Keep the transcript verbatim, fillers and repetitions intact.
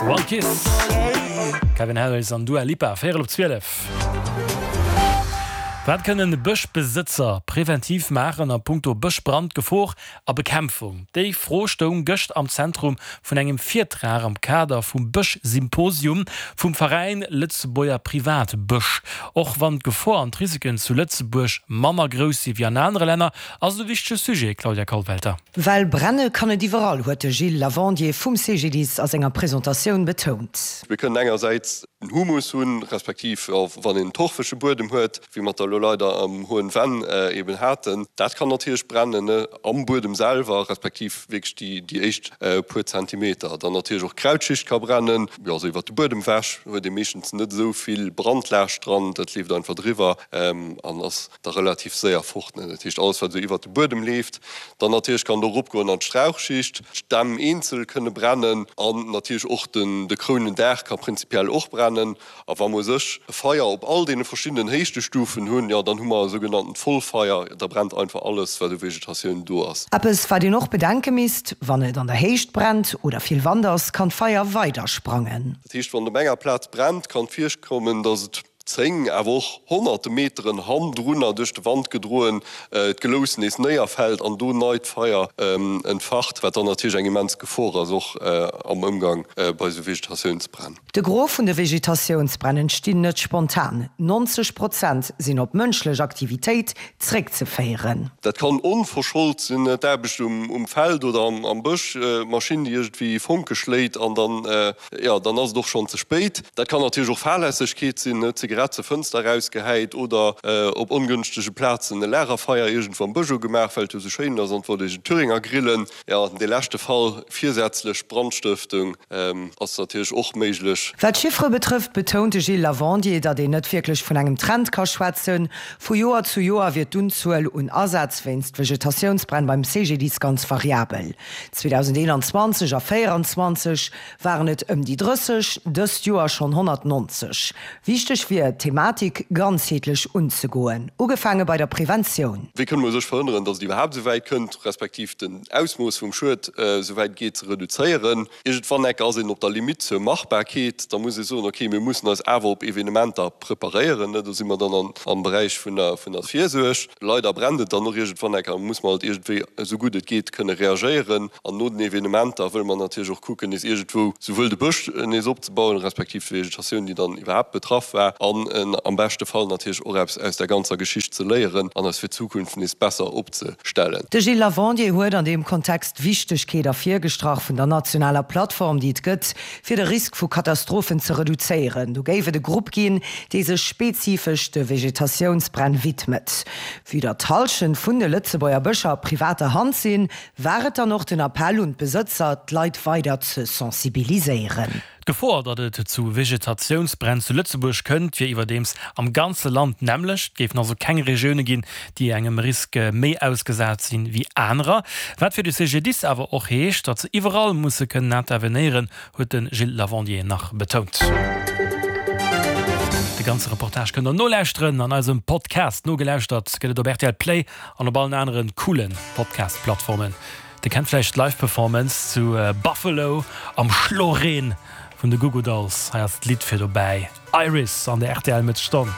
One Kiss, Calvin Harris an Dua Lipa, véierel op zwielef. Wat kënnen Bëschbesëtzer preventiv maachen a punkto Bëschbrandgefor a Bekämpfung? Déi Fro stoung gëscht am Zentrum vun engem Virtrag am Kader vum Bëschsymposium vum Veräin Lëtzebuerger Privatbësch. Och wann d'Gefor an d'Risiken zu Lëtzebuerg manner grouss si wéi an anere Länner, ass et e wichtege Sujet, Claudia Kollwelter. Well brenne kann et iwwerall, huet de Gilles Lavandier vum C G D I S a senger Presentatioun betount. Mir kënnen engersäits en Humus hunn, respektiv wann een torfege Buedem huet, wéi mer dat elo leider am Hohen Venn eben haten, dat kann natierlech brennen am Buedem selwer, respektiv wierklech déi déi éischt puer Zentimeter. Dann natierlech och d'Krautschicht ka brennen, jo, also iwwert de Buedem ewech huet ee meeschtens net esou vill Brandlaascht dran, dat leeft einfach driwwer an ass da relativ séier fort. Dat heescht alles wat esou iwwert de Buedem leeft. Dann natierlech kann et och eropgoen an d'Strauchschicht, d'Stämm eenzel kënne brennen an natierlech och den de Krounendaach ka prinzipiell och brennen. A wa mer u sech e Feier op all deene verschiddenen Héichtestufen hunn, jo dann hu mer e sougenanntent Vollfeier, da brennt einfach alles wat u Vegetatioun do ass. Eppes wat een och bedenke misst, Wann et an der Héicht brennt oder vill Wand ass, kann d'Feier weider sprangen. Dat heescht, wann et op enger Plaz brennt, kann et virkommen, datt et zéng, awer och honnerte Meteren hannendrunner duerch de Wand gedroen d'Gelous nees néierfält an do neit Feier entfacht, wat dann natierlech eng immens Gefor ass, och am Ëmgang bei esou Vegetatiounsbränn. De Gros vun de Vegetatiounsbränn entstinn net spontan, neunzeg Prozent sinn op mënschlech Aktivitéit zréckzeféieren. Dat kann onverschold sinn, d'Aarbecht um Feld oder am Bësch, d'Maschinn, déi iergendwéi Fonke schléit an dann, jo, dann ass et och schonn ze spéit. Dat kann natierlech och Fahrlässegkeet sinn, Zigarett zur Fënster erausgehäit oder op ongënschtege Plazen e Lagerfeier iergendwou am Bësch ugemaach, well et jo esou schéin ass an et wollt ee Thüringer grillen. Jo, an dee leschte Fall, virsätzlech Brandstëftung, ass natierlech och méiglech. Wat d'Chiffere betrëfft, betount de Gilles Lavandier, datt een net wierklech vun engem Trend ka schwätzen. Vu Joer zu Joer wier d'Unzuel un Asätz wéinst Vegetatiounsbränn beim C G D I S ganz variabel. zweedausendeenanzwanzeg a véieranzwanzeg waren et ëm déi drësseg, dëst Joer schonn honnertnonzeg. Wichteg wier, d'Thematik ganzheetlech unzegoen, ugefaange bei der Preventioun. Wéi kënne mer u sech verhënneren, datt et iwwerhaapt esou wäit kënnt, respektiv den Ausmooss vum Schued esou wäit et geet ze reduzéieren? Iergendwann enke ass een op der Limitt zur Machbarkeet. Da muss ee soen, okay, mir mussen eis awer op Evenementer preparéieren. Do si mer dann am Beräich vun der Virsuerg. Leider brennt et dann och iergendwann enke, da muss mer halt iergendwéi esou gutt et geet kënne reagéieren. An no den Evenementer wëlle mer natierlech och kucken, nees iergendwou souwuel de Bësch nees opzebauen, respektiv d'Vegetatioun, déi dann iwwerhaapt betraff war, an am beschte Fall natierlech och eppes aus där ganzer Geschicht ze léieren an eis fir d'Zukunft nees besser opzestellen. De Gilles Lavandier huet an deem Kontext d'Wichtegkeet ervirgestrach vun der nationaler Plattform, déi et gëtt, fir de Risk vu Katastrophen ze reduzéieren. Do géif et e Grupp ginn, dee sech spezifesch de Vegetatiounsbränn widmet. Vue datt d'Hallschent vun de Lëtzebuerger Bëscher a privater Hand sinn, war et dann och den Appell un d'Besëtzer, d'Leit weider ze sensibiliséieren. D'Gefor, datt et zu Vegetatiounsbränn zu Lëtzebuerg kënnt, wier iwwerdeems am ganze Land d'nämmlecht. Et géifen also keng Regioune ginn, déi engem Risk méi ausgesat sinn, wéi anerer. Wat fir de C G D I S awer och heescht, datt se iwwerall musse kënnen intervenéieren, huet de Gilles Lavandier nach betount. De ganze Reportage kënnt der nolauschteren an eisem Podcast. Nogelauschtert gëtt et op R T L Play an op allen aneren coolen Podcast-Plattformen. Dir kennt vläicht d'Live-Performance zu Buffalo am Schloreen vun de Goo Goo Dolls. Hei ass d'Lidd fir dobäi, Iris an der R T L Mëttesstonn.